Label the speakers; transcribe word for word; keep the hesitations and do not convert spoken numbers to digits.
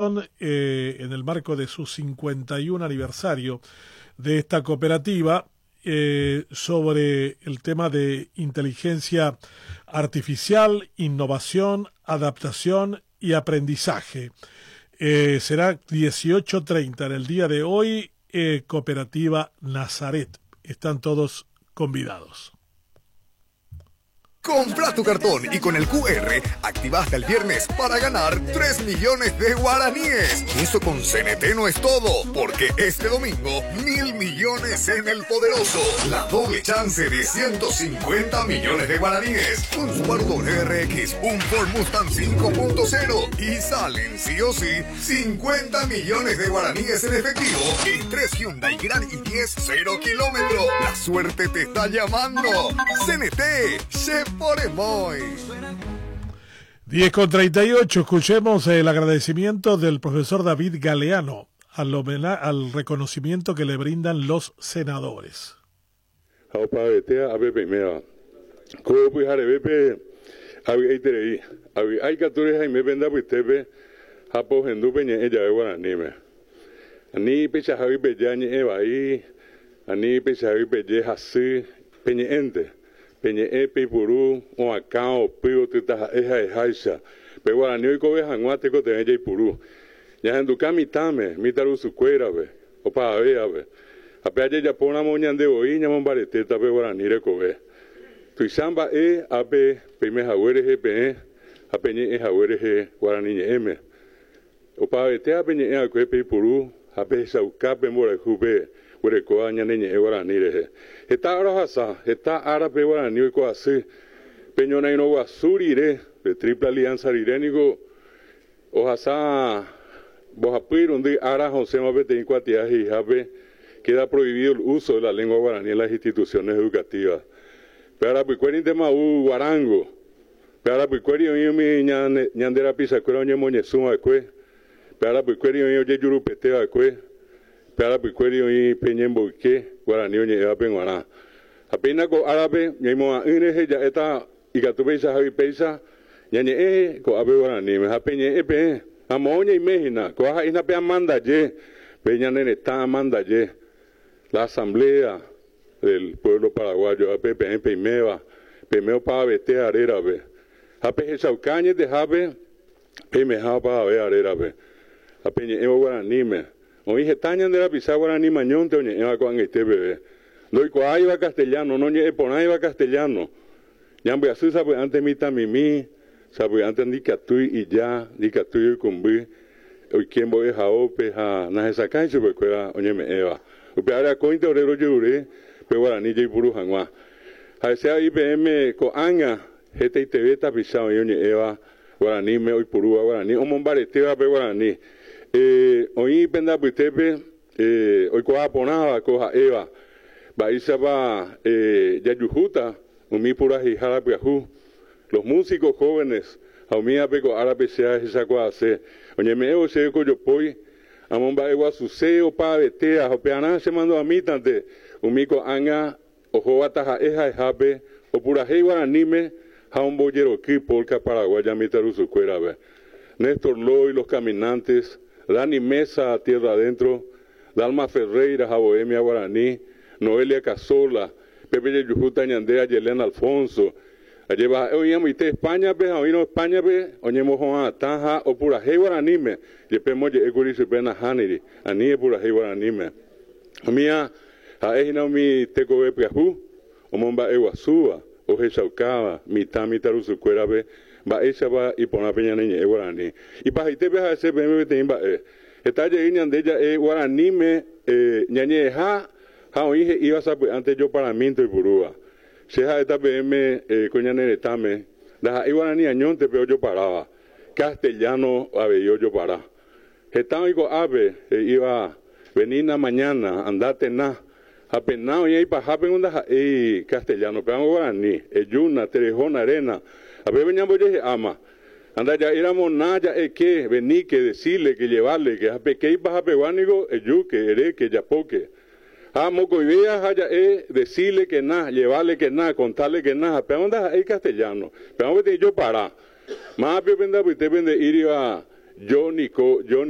Speaker 1: Eh, en el marco de su cincuenta y uno aniversario de esta cooperativa eh, sobre el tema de inteligencia artificial, innovación, adaptación y aprendizaje. Eh, será dieciocho treinta en el día de hoy, eh, Cooperativa Nazaret. Están todos convidados.
Speaker 2: Compra tu cartón y con el Q R activa hasta el viernes para ganar tres millones de guaraníes. Eso con C N T no es todo, porque este domingo, mil millones en el Poderoso. La doble chance de ciento cincuenta millones de guaraníes. Un Subaru W R X, un Ford Mustang cinco punto cero y salen sí o sí cincuenta millones de guaraníes en efectivo y tres Hyundai Grand i diez cero kilómetro. La suerte te está llamando. C N T, se por muy.
Speaker 1: diez con treinta y ocho, escuchemos el agradecimiento del profesor David Galeano al, al reconocimiento que le brindan los senadores.
Speaker 3: Ha opavetéa ápe peiméva. Ko pyharevépe avy'aiterei. Avy'a ikatu rehaime pende apytépe ha pohendu peñe'ẽ jave guaraníme. Ani peichahágui peje añe'ẽ vai, ani peichahágui peje hasy peñe'ẽnte. Peñe'ẽ peipuru oakã opy otytaha'e ha'eháicha. Pe guarani oikove hag̃ua tekotevẽ jaipuru. Ñahenduka mitãme, mitãrusukuérape, opavavévape. Ha pe ajejapóramo ñande voi ñamombaretéta pe guarani rekove. Tuicha mba'e ápe peime hague rehe peẽ ha peñe'ẽ hague rehe guarani ñe'ẽme. Opavavetéva peñe'ẽ va'ekue peipuru ha pehechauka pe mborayhúpe guerekóva ñane ñe'ẽ guarani rehe. Heta ára ohasa, heta ára pe guarani oiko asy. Pe ñorairõ guasu rire, pe Triple Alianza rire niko ohasa mbohapy irundy ára osẽma peteĩ kuatia he'ihápe queda prohibido el uso de la lengua guaraní en las instituciones educativas. Pe arapykuérintema ou guarango. Pe arapykuéri oĩ umi ñande rapichakuéra oñemoñesũ va'ekue. Pe arapykuéri oĩ ojejurupete va'ekue. Pe arapykuéri oĩ pe ñemboyke guarani oñe'ẽvape g̃uarã. Ha péina ko árape ñaimo'ã'ỹ rehe ja'éta ikatu peichahágui péicha ñañe'ẽ ko'ápe guaraníme. Ha peñe'ẽ peẽ ha moõ ñaime hína. Ko'ã ha'éhina pe amandaje, pe ñane retã amandaje. La Asamblea del Pueblo Paraguayo ápe peẽ peiméva, peime opavavete arérape. Ha pehechauka añetehápe peimeha opavave arérape. Ha peñe'ẽvo guaraníme. Oĩ heta ñande rapicha guarani mañónte oñe'ẽva ko'ag̃aite peve. Ndoikuaáiva castellano, noñe'ẽporãiva castellano. Ñambyasy sapy'ánte mitãmimi, sapy'ánte ndikatúi ija, ndikatúi oikũmby, oike mbo'ehaópe ha nahesakãi chupekuéra oñeme'ẽva. Upe ára akóinte ore rojerure pe guarani jaipuru hag̃ua. Ha'ese avei peẽme ko'ág̃a hetaiteve tapicha oĩ oñe'ẽva guaraníme oipurúva guarani, omombaretéva pe guarani. Eh, oĩ pende apytépe eh, oikuaa porãva ko ha'éva. Mba'éichapa eh, jajuhúta umi purahéihára pyahu, los músicos jóvenes, ha umívape ko árape che ahechakuaase. Oñeme'ẽvo chéve ko jopói, amomba'eguasuse opavetéa ha upearã chemandu'amítante umi ko'ág̃a ohóva taha'e ha'ehápe opurahéi guaraníme ha ombojeroky polka paraguaya mitãrusukuérape. Néstor Loy, Los Caminantes, Dani Mesa, Tierra Adentro, Dalma Ferreira ha Bohemia Guaraní, Noelia Casola, Pepe jejuhúta ñande Ayelén Alfonso. Ajépa ha'e oĩamoite España-pe ha oĩrõ España-pe oñemoho'ãtã ha opurahéi guaraníme, jepe moje'ékuri chupe nahániri, ani epurahéi guaraníme. Umía ha'ehína umi tekove pyahu omomba'eguasúva, ohechaukáva mitã mitãrusukuérape mba'éichapa iporã pe ñane ñe'ẽ guarani. Ipahaitépe ha'ese peẽme peteĩ mba'e. Heta jey ñande ja'e guaraníme eh, ñañe'ẽha ha oĩ he'íva sapy'ánte joparamínte oipurúva. Che ha'éta peẽme eh, ko ñane retãme ndaha'éi guarani añónte pe ojoparáva. Castellano avei ojopara. Heta oĩ ko'ápe he'íva venina mañana, andate na. Ha pena oĩ ipahápe ndaha'éi castellano, péva guarani, ejúna, terehóna, arena. Ha pépe ñambojehe'áma. Andaja'éramo na ja'eke, veníke, decile, que llevarle, que ha peke ipahapegua niko ejúke, eréke, japóke. Ha mokõivéa ha ja'e decile que na, llevarle que na, contarle que na, ha péva ndaha'éi castellano. Péva peteĩ jopara. Mápe pende apytépe nde'íriva Yo niko, yo